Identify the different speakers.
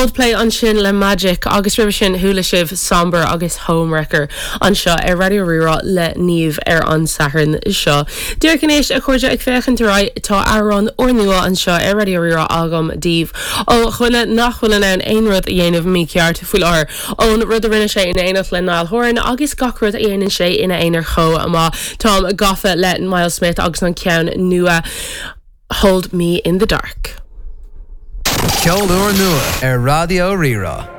Speaker 1: Coldplay ansin le Magic agus roimhe sin chuala sibh Somber agus Homewrecker anseo ar Raidió Rí-Rá le Niamh ar an Satharn seo. Díreach anois, a chairde, ag féachaint ar aghaidh, tá amhrán úrnua anseo ar Raidió Rí-Rá agam daoibh ó dhuine nach bhfuil in ann aon rud a dhéanamh mícheart faoi láthair, ón rud a rinne sé in éineacht le Niall Horan agus gach rud a dhéanann sé ina aonar chomh maith. Táim gafa le Myles Smith agus an ceann nua Hold Me In The Dark.
Speaker 2: Ceol úrnua ar Raidió Rí-Rá.